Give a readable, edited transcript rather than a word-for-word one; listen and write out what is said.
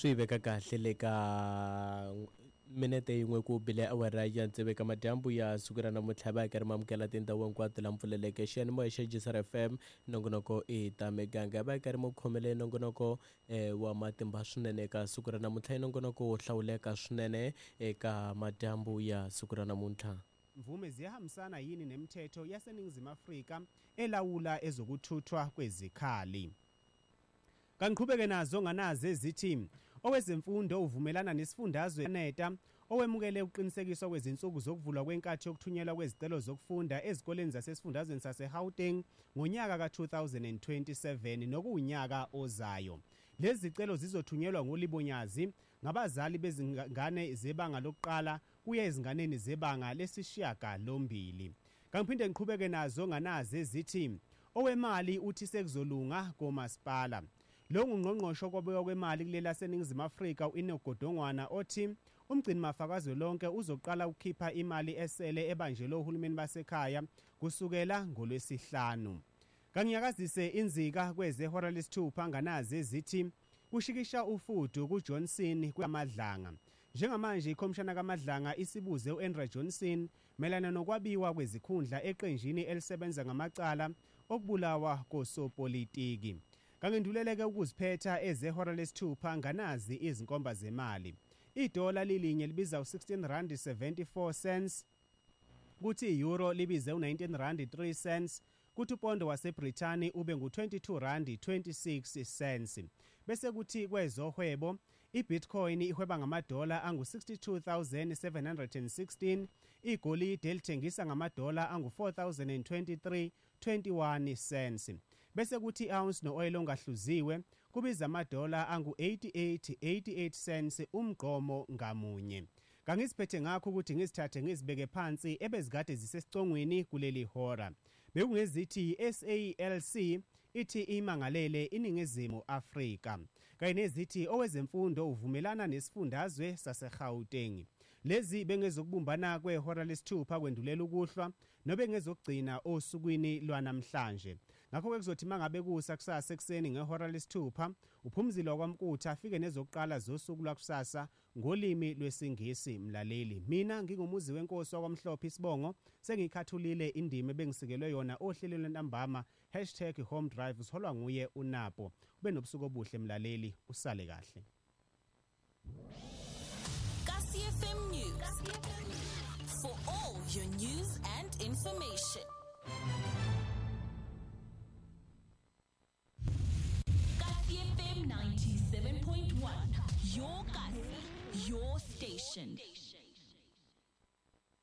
Swi yi veka kahle le ka minete yin'we ku bile awara ya tsevu eka madyambu ya siku ra namuntlha va karhi ma amukela tindhawu hinkwato la mpfuleleke xiyanimoya xa Jisar FM nongonoko i ta miganga va karhi mu khomele nongonoko wa matimba swinene eka siku ra namuntlha i nongonoko wo hlawuleka swinene eka madyambu ya siku ra namuntlha. Mvume ziyahambisana yini nemithetho yaseNingizimu Afrika elawula ezokuthuthwa kwezikhali. Kangiqhubeke nazo nganazi ezithi owezemfundo uvumelana nesifundazwe NETA owemukele ukuqinisekiswa kwezinsuku zokuvulwa kwenkathi yokuthunyelwa kwezicelo zokufunda ezikoleni zasesifundazweni saseGauteng ngonyaka ka-2027 nokuwunyaka ozayo. Lezi zicelo zizothunyelwa ngolibonyazi ngabazali bezingane zebanga lokuqala kuya ezinganeni zebanga lesishiyagalombili. Kangiphinde ngiqhubeke nazo nganazi ezithi owemali uthi sekuzolunga komasipala. Lo ngungqongqoshe okwabiwa kwemali kuleli laseNingizimu Afrika u-Enoch Godongwana othi umgcinimafa kazwelonke uzoqala ukukhipha imali esele ebanjelwe ohulumeni basekhaya kusukela ngolwesihlanu. Kanginyakazise inzika kwezehora lesithupha nganazi ezithi kushikisha ufudu kuJohnson kwaMadlanga. Njengamanje ikhomishana kaMadlanga isibuze u-Andrew Johnson mayelana nokwabiwa kwezikhundla eqenjini elisebenza ngamacala okubulawa kosopolitiki. Kangenduleleke ukuziphetha ezehora lesithupha nganazi izinkomba zemali. Idola lilinye libiza u-16 rand 74 cents, kuthi i-euro libize u-19 rand 3 cents, kuthi upondo waseBrithani ube ngu-22 rand 26 cents. Bese kuthi kwezohwebo iBitcoin ihweba ngamadola angu-62,716, igolide lithengisa ngamadola angu-4,023 21 cents. Bese kuthi i-ounce no-oil ongahluziwe kubiza amadola angu-88 88 cents umgqomo ngamunye. Kangiziphethe ngakho ukuthi ngizithathe ngizibeke phansi ebezikade zisesicongweni kuleli hora. Bekungezithi SALC ithi imangalele iNingizimu Afrika. Kanye nezithi owezemfundo uvumelana nesifundazwe saseGauteng. Lezi bengezokubumbana kwehora lesithupha kwendulela ukuhlwa nobengezokugcina osukwini lwanamhlanje. Ngakho-ke kuzothi mangabe kusa kusasa ekuseni ngehora lesithupha uphumzile wakwaMkutha afike nezokuqala zosuku lwakusasa ngolimi lwesiNgisi. Mlaleli, mina ngingumuzi wenkosi wakwamhlophe isibongo sengiyikhathulile indima ebengisikelwe yona ohlelweni lwentambama #HomeDrive uholwa nguye uNapo. Ube nobusuku obuhle mlaleli, usale kahle. Kasi FM News. For all your news and information. Kasi FM 97.1. Your Kasi, your station.